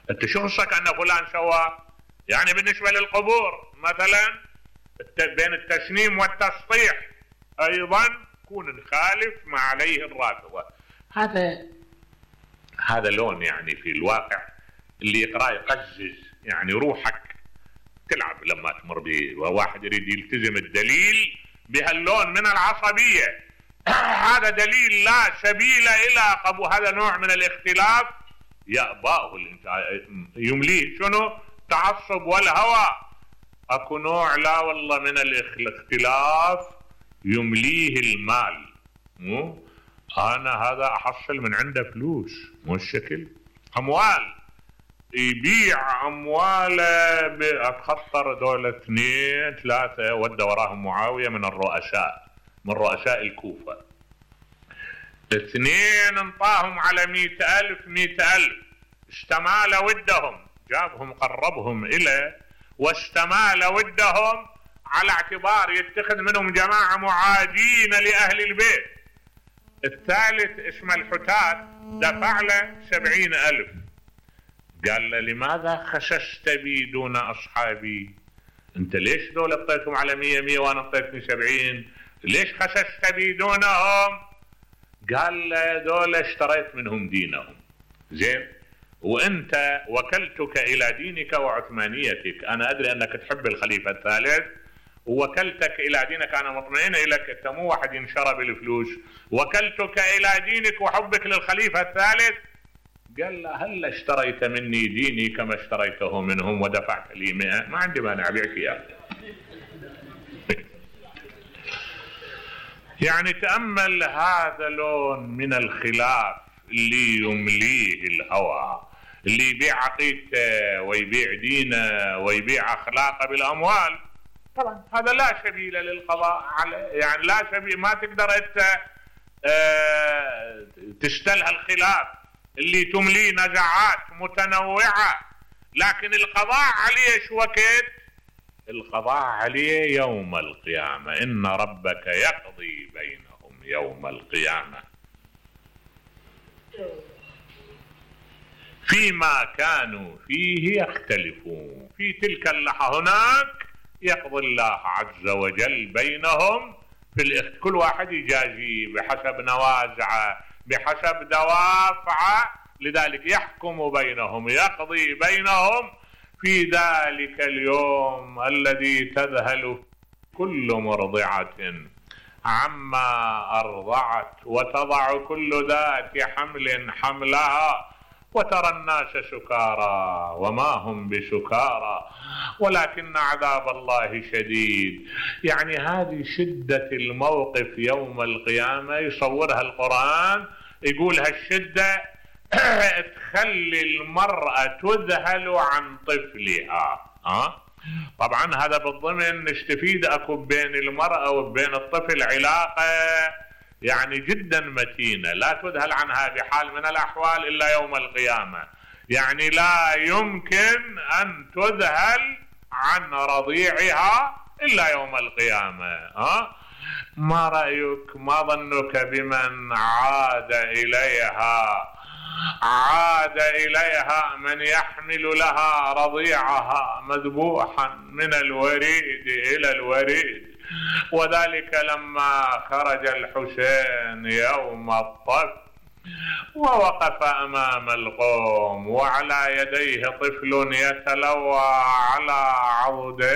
انت شو خصك ان فلان سوى؟ يعني بالنسبة للقبور مثلا بين التسنيم والتسطيح ايضا كون نخالف ما عليه الرافضة. هذا لون يعني في الواقع اللي يقرأ يقزز، يعني روحك تلعب لما تمر به، وواحد يريد يلتزم الدليل بهاللون من العصبية. هذا دليل لا سبيل إلى قبول، هذا نوع من الاختلاف يأباه يمليه شنو؟ تعصب والهوى. اكو نوع لا والله من الاختلاف يمليه المال. انا هذا احصل من عنده فلوس، مو الشكل اموال، يبيع امواله اتخطر دولة 2 3 ودى وراهم معاوية من الرؤساء، من رؤساء الكوفة، 2 انطاهم على 100,000 استمال ودهم، جابهم قربهم إليه واستمال ودهم على اعتبار يتخذ منهم جماعة معادين لأهل البيت. الثالث اسمه الحتات دفع له 70,000. قال له لماذا خسست بي دون أصحابي؟ انت ليش دول اعطيتهم على 100 وانا اعطيتني 70؟ ليش خسست بي دونهم؟ قال له دول اشتريت منهم دينهم. زين، وانت وكلتك الى دينك وعثمانيتك، انا ادري انك تحب الخليفة الثالث ووكلتك الى دينك، انا مطمئن اليك، انت مو واحد ينشرى بالفلوس، وكلتك الى دينك وحبك للخليفة الثالث. قال له هل اشتريت مني ديني كما اشتريته منهم ودفعت لي 100؟ ما عندي مانع ابيعك اياه. يعني تأمل هذا لون من الخلاف اللي يمليه الهوى، اللي يبيع عقيدته ويبيع دينه ويبيع اخلاقه بالاموال. طبعا هذا لا سبيل للقضاء عليه، يعني لا سبيل، ما تقدر انت تستلها الخلاف اللي تمليه نزعات متنوعة، لكن القضاء عليه شو وقت؟ القضاء عليه يوم القيامة، إن ربك يقضي بينهم يوم القيامة فيما كانوا فيه يختلفون. في تلك اللحظة هناك يقضي الله عز وجل بينهم في كل واحد يجازي بحسب نوازعه بحسب دوافعه، لذلك يحكم بينهم يقضي بينهم في ذلك اليوم الذي تذهل كل مرضعة عما أرضعت وتضع كل ذات حمل حملها وترى الناس سكارى وما هم بسكارى ولكن عذاب الله شديد. يعني هذه شدة الموقف يوم القيامة يصورها القرآن، يقول هالشدة تخلي المرأة تذهل عن طفلها. طبعا هذا بالضمن نستفيد اكو بين المرأة وبين الطفل علاقة يعني جدا متينة لا تذهل عنها بحال من الأحوال إلا يوم القيامة. يعني لا يمكن أن تذهل عن رضيعها إلا يوم القيامة. ما رأيك، ما ظنك بمن عاد إليها من يحمل لها رضيعها مذبوحا من الوريد إلى الوريد، وذلك لما خرج الحسين يوم الطف ووقف أمام القوم وعلى يديه طفل يتلوى على عضديه